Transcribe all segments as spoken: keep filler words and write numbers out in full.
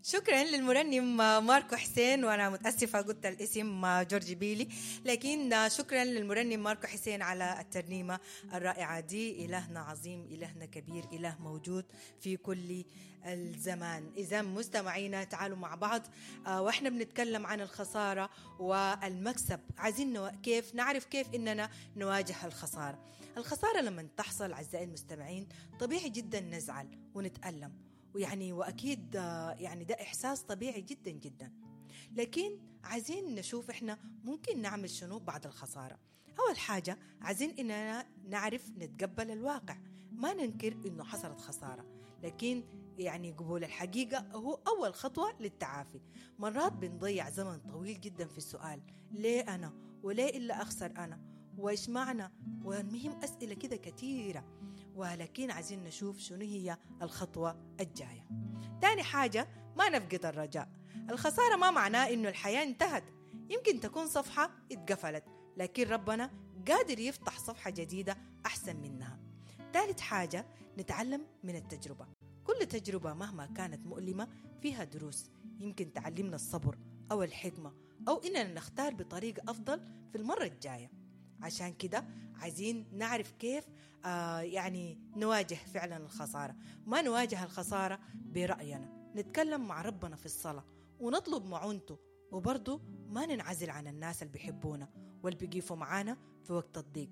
شكرا للمرنم ماركو حسين، وانا متاسفه قلت الاسم جورج بيلي، لكن شكرا للمرنم ماركو حسين على الترنيمه الرائعه دي. الهنا عظيم، الهنا كبير، اله موجود في كل الزمان. اذا مستمعينا تعالوا مع بعض واحنا بنتكلم عن الخساره والمكسب، عايزين كيف نعرف كيف اننا نواجه الخساره. الخساره لما تحصل اعزائي المستمعين طبيعي جدا نزعل ونتألم، ويعني واكيد يعني ده احساس طبيعي جدا جدا، لكن عايزين نشوف احنا ممكن نعمل شنو بعد الخساره. اول حاجه عايزين اننا نعرف نتقبل الواقع، ما ننكر انه حصلت خساره، لكن يعني قبول الحقيقه هو اول خطوه للتعافي. مرات بنضيع زمن طويل جدا في السؤال ليه انا، وليه الا اخسر انا، وايش معنى، والمهم اسئله كده كثيره، ولكن عايزين نشوف شنو هي الخطوة الجاية. تاني حاجة ما نفقد الرجاء. الخسارة ما معناه إنه الحياة انتهت، يمكن تكون صفحة اتقفلت، لكن ربنا قادر يفتح صفحة جديدة أحسن منها. ثالث حاجة نتعلم من التجربة. كل تجربة مهما كانت مؤلمة فيها دروس، يمكن تعلمنا الصبر أو الحكمة، أو إننا نختار بطريقة أفضل في المرة الجاية. عشان كده عايزين نعرف كيف آه يعني نواجه فعلا الخسارة. ما نواجه الخسارة برأينا، نتكلم مع ربنا في الصلاة ونطلب معونته، وبرضه ما ننعزل عن الناس اللي بيحبونا واللي بيقفوا معانا في وقت الضيق.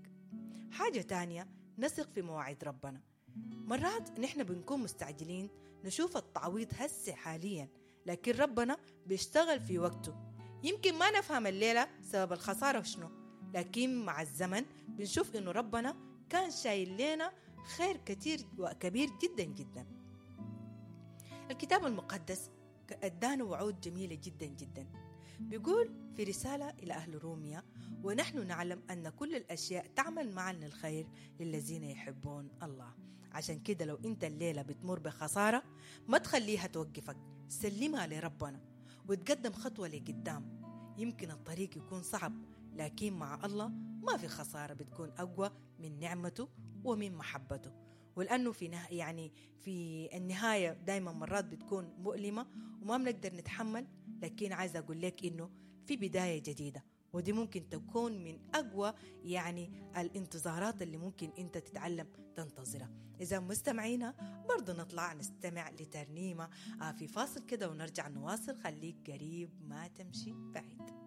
حاجة تانية نثق في مواعيد ربنا. مرات نحن بنكون مستعجلين نشوف التعويض هسه حاليا، لكن ربنا بيشتغل في وقته. يمكن ما نفهم الليلة سبب الخسارة وشنو، لكن مع الزمن بنشوف إنه ربنا كان شايل لنا خير كتير وكبير جدا جدا. الكتاب المقدس ادانا وعود جميلة جدا جدا. بيقول في رسالة إلى أهل روميا: ونحن نعلم أن كل الأشياء تعمل معا للخير للذين يحبون الله. عشان كده لو أنت الليلة بتمر بخسارة ما تخليها توقفك، سلمها لربنا وتقدم خطوة لقدام. يمكن الطريق يكون صعب، لكن مع الله ما في خسارة بتكون أقوى من نعمته ومن محبته. ولأنه في نه... يعني في النهاية دايما مرات بتكون مؤلمة وما بنقدر نتحمل، لكن عايزة أقول لك إنه في بداية جديدة، ودي ممكن تكون من أقوى يعني الانتظارات اللي ممكن أنت تتعلم تنتظرها. إذا مستمعينا برضو نطلع نستمع لترنيمة في فاصل كده ونرجع نواصل. خليك قريب ما تمشي بعيد.